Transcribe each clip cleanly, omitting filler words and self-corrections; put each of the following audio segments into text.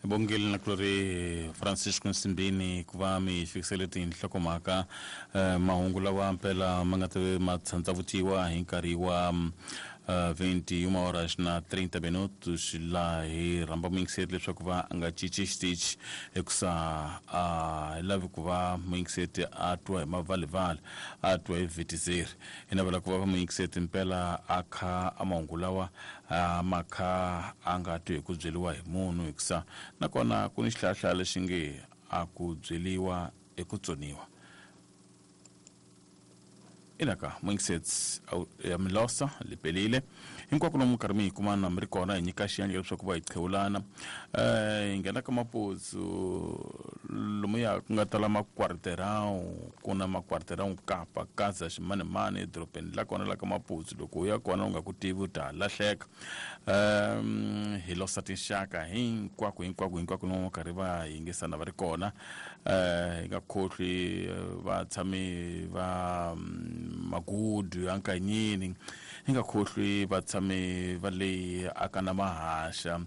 Bongile na kulori Francisco Nsimbini ku va mi fikisele tinhlokomhaka mahungu lawa mpela ma nga ta ma tshandzavutiwa hi nkarhi wa 21 horas na 30 minutos laha hi rhamba muyingiseri leswaku va a nga cinci xitichi hikusa a hi lavi ku va muyingiseri a twa hi mavalivali a twa hi vhitizeri hi navela ku va muyingiseri mpela a kha a mahungu lawa a ma kha a nga twi hi ku byeriwa hi munhu hikusa nakona ku ni xihlahla lexi nge a ku byeriwa i ku tsoniwa inaka muyingiseti ya milosa lipelile hinkwako lomu karhi mi hi kumana mi ri kona hi nyika xiyandla leswaku va hi qhewulana hi nghena ka maputsu lomuya ku nga tala makwariterau ku na makwariterau kapa kaza ximanimani edorobeni la kona la ka maputsu loko u ya kona u nga ku tivi u ta lahleka hi losa tinxaka hinkwako hinkwako hinkwako lomu karhi va yingisana va ri kona hi nga khohlwi vatshami va magudu ya nkanyini hi nga khohlwi vatshami va le akana mahaxa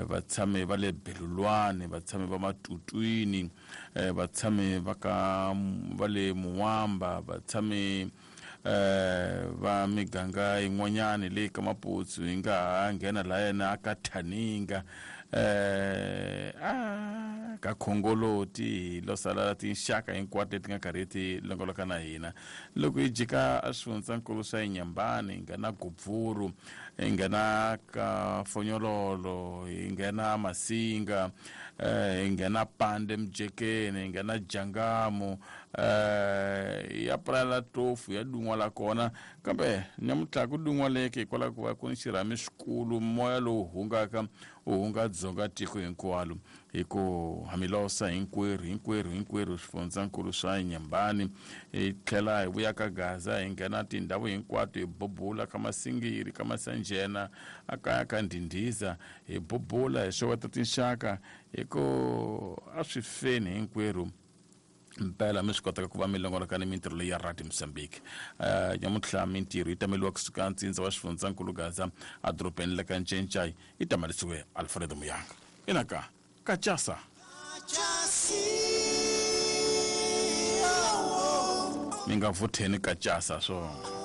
vatshami va le belulwani vatshami va matutwini vatshami va ka va le muwamba vatshami va miganga yin'wanyani leyi ka maputsu hi nga ha nghena la yena a ka thaninga a ka khongoloti hi lo sala tinxaka hinkwato leti nga karhi ti longoloka na hina loko hi jika a swifundzankulu swa inyambani hi nghena gubvuru hi nghena ka fonyololo hi nghena masinga hi nghena pande mujekeni hi nghena jangamu ya pulala tofu ya dun'wa la kona kambe nyamutlha ku dun'waleke hikwalaho ku va ku ni xirhami xikulu moya lowu hungaka u hunga dzonga tiko hinkwalo hi ku hamilosa hinkwerhu hinkwerhu hinkwerhu swifundzankulu swa nyambani hi tlhela hi vuya ka gaza hi nghena tindhawu hinkwato hi bubula ka masingiri ka masanjena a kaya ka ndhindhiza hi bubula hi xeweta tinxaka hi ku a swi feni hinkwerhu mpela mi swi kotaka ku va mi longoloka ni mintirho leyi ya radio mozambique nyamuntlha mintirho yi tameliwa kusuka ntsindza wa xifundzankulu gaza edorobeni la ka ncencai yi tamalisiwe alfredo muyanga inaka kachasa mi nga vutheni kachasa swo.